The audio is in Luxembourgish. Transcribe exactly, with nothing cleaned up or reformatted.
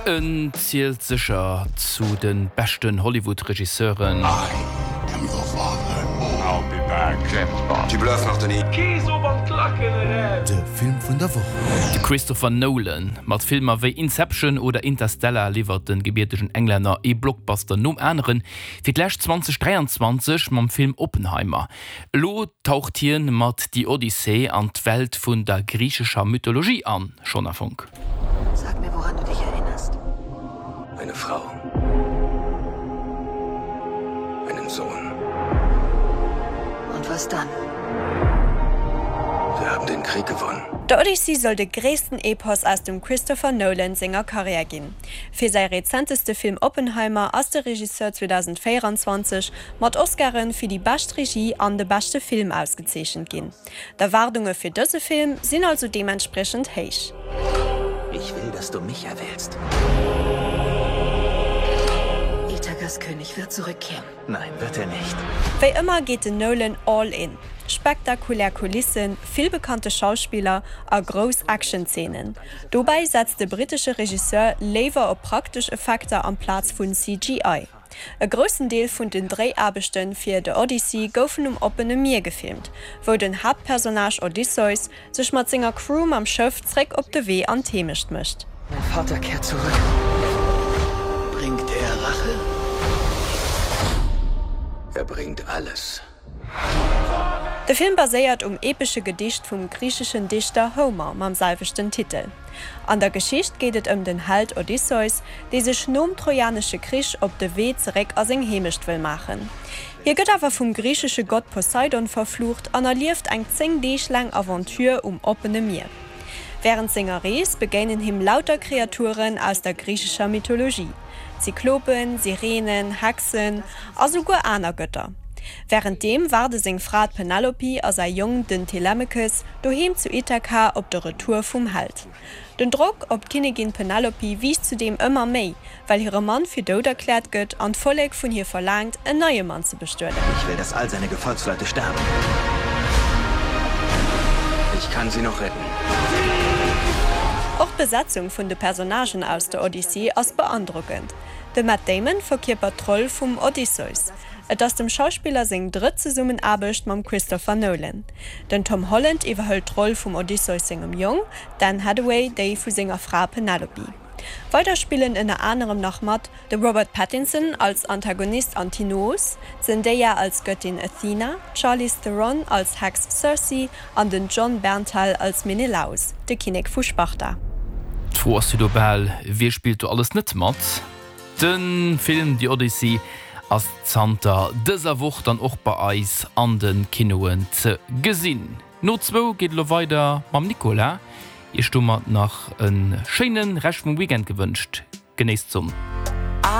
En zielt sécher zu de beschten Hollywood-Regisseuren. De Film vun der Woch. De Christopher Nolan. Mat Filmer wéi Inception oder Interstellar liwwert de gebiertegen Englänner ee Blockbuster nom aneren, fir d'lescht zweitausenddräianzwanzeg mam Film Oppenheimer. Elo taucht hien mat The Odyssey an d'Welt vun der griichescher Mythologie an, Shona Fonck. Sag mir, woran du dich erinnerst. Eine Frau. Einen Sohn. Und was dann? Wir haben den Krieg gewonnen. The Odyssey soll de gréissten Epos aus dem Christopher Nolan senger Karriär ginn. Fir säi rezenteste Film Oppenheimer ass de Regisseur zweedausendvéieranzwanzeg mat Oscaren fir déi bescht Regie an de beschte Film ausgezeechent ginn. D'Erwaardunge fir dëse Film sinn also deementspriechend héich. Ich will, dass du mich erwählst. Ithakas König wird zurückkehren. Nein, wird er nicht. Wéi ëmmer geet den Nolan all in. Spektakulär Kulissen, vill bekannte Schauspiller a grouss Action-Zeenen. Dobäi setzt de brittesche Regisseur léiwer op praktesch Effekter amplaz vun C G I. E groussen Deel vun den Dréiaarbechte fir The Odyssey goufen um oppene Mier gefilmt, wou den Haaptpersonnage Odysseus sech mat senger Crew mam Schëff zréck op de Wee an d'Heemecht mécht. Mein Vater kehrt zurück. Bringt er Rache? Er bringt alles. De Film baséiert um epesche Gedicht vum griicheschen Dichter Homer mam selwechten Titel. An der Geschicht geet et ëm den Held Odysseus, dee sech nom Trojanesche Krich op de Wee zeréck a seng Heemecht wëll maachen. Hie gëtt awer vum griichesche Gott Poseidon verflucht an erlieft eng zéng Deeg laang Aventure um oppene Mier. Wärend senger Rees begéinen him lauter Kreaturen aus der griichescher Mythologie, Zyklopen, Sirenen, Hexen a souguer aner Gëtter. Wärenddeem waarde seng Fra d'Penelope a säi Jong den Telemachus doheem zu Ithaka op de Retour vum Held. Den Drock op d'Kinnigin Penelope wiisst zudeem ëmmer méi, well hire Mann fir dout erkläert gëtt an d'Vollek vun hir verlaangt, en neie Mann ze bestueden. Ich will, dass all seine Gefolgsleute sterben. Ich kann sie noch retten. Och d'Besetzung vun de Personnagen aus der Odyssee ass beandrockend. De Matt Damon verkierpert d'Roll vum Odysseus. Et ass dem Schauspiller seng drëtt Zesummenaarbecht mam Christopher Nolan. Den Tom Holland iwwerhëlt d'Roll vum Odysseus sengem Jong, d'Anne Hathaway déi vu senger Fra Penelope. Weider spillen ënner anerem nach mat, de Robert Pattinson als Antagonist Antinous, d'Zendaya als Göttin Athena, d'Charlize Theron als Hex Circe an den Jon Bernthal als Menelaus, de Kinnek vu Sparta. D'Fro ass jo do bal, Wie spillt do alles net mat? De Film The Odyssey ass zanter dëser Woch dann och bei eis an de Kinoen ze gesinn. No zwou geet et elo weider mam Nicolas. Iech domat nach e schéine Rescht vum Weekend gewënscht. Genéisst d'Sonn.